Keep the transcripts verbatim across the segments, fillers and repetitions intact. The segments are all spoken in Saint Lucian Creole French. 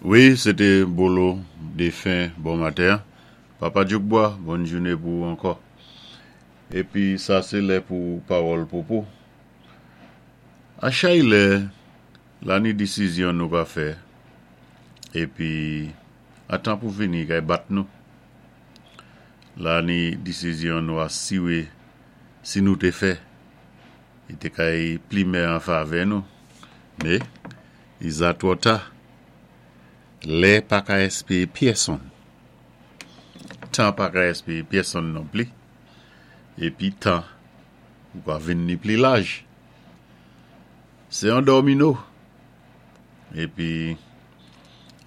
Wi, sé té Bolo défen bon maten. Papa Djoukbois, bòn jouné pou ou ankò. Épi sa sé lè pou pawòl popo. A chay lè, la ni disizyon nou ka fè, épi a tan pou vini kay bat nou. La ni disizyon nou asiwé si nou té fè, i té kay pli mè an favè nou. Mé, i za twò ta. Lè pa ka èspéyé pyèsonn. Tan pa ka èspéyé pyèsonn non pli. Épi tan, ou ka vin ni pli laj. Sé an dòmino. Épi,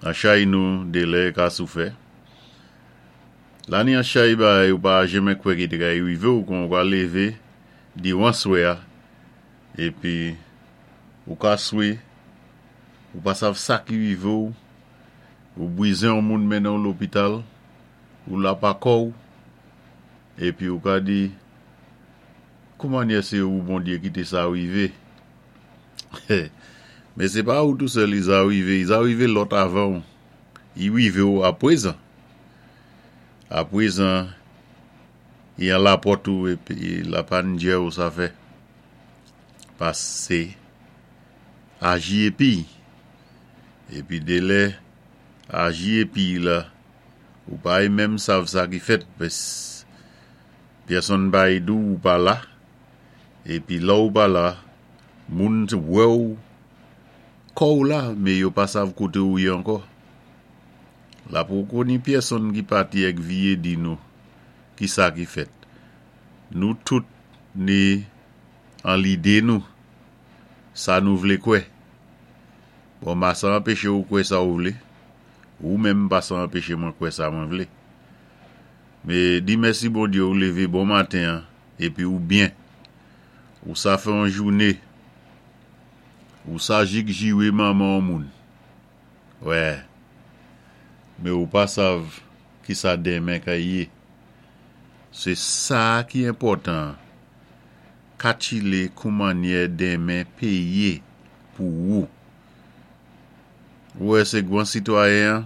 an chay nou dé lè ka sou fè. La ni an chay bagay ou pa jenmen kwè ki té kay wivé ou kon ou ka lévé diwan swè a. Épi, ou ka swe, ou pa sav sa ki wivé ou, ou bwizen yon moun mennen ou lopital, ou la pa kò ou, épi ou ka di, koumannyè sé ou Bondyé kité sa wivé? Mé sé pa ou tou sèl i za wivé, i za wivé lòt avan ou. I wivé ou apwézan. Apwézan, i an lapòt ou épi la pa ndyè ou sa fè. Pasé aji épi. Épi dé lè aji épi la, ou pa y menm sav sa ki fèt, pès pyèsonn pa y di ou pa la, épi lè ou pa la, moun wè ou, kò ou la, mé yo pa sav koté ou yé ankò. La poko ni pyèsonn ki pati èk viyé di nou ki sa ki fèt. Nou tout ni an lidé nou, sa nou vlé kwè. Bon, ma sa anpéché ou kwè sa ou vlé, ou menm pa sa anpéché mwen kwè sa mwen vlé. Mé di mèsi Bondyé ou lévé bon maten, épi ou byen. Ou sa fè an jouné, ou sa jik jiwé manman an moun. Wè, mé ou pa sav ki sa denmen ka yé. Sé sa ki enpòtan, katchilé koumannyè denmen péyé pou ou. Ou wè sé gwan sitwayen,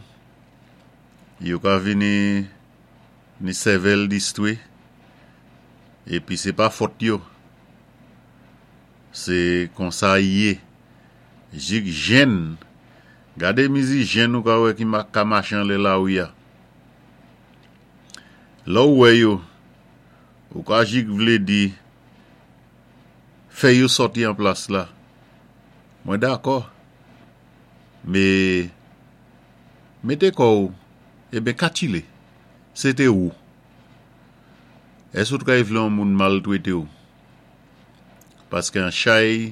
yo ka vini ni sèvèl distwé, épi sé pa fòt yo. Sé konsa i yé. Jik jenn, gadé mizi jenn ou ka wè ki ma ka maché anlè lawi a. Lè ou wè yo, ou ka jik vlé di, fè yo sòti an plas la. Mwen dakò. Mé, mété kò ou, eben katchilé, sé té ou. Ès ou t kay vlé an moun maltwété ou? Paské an chay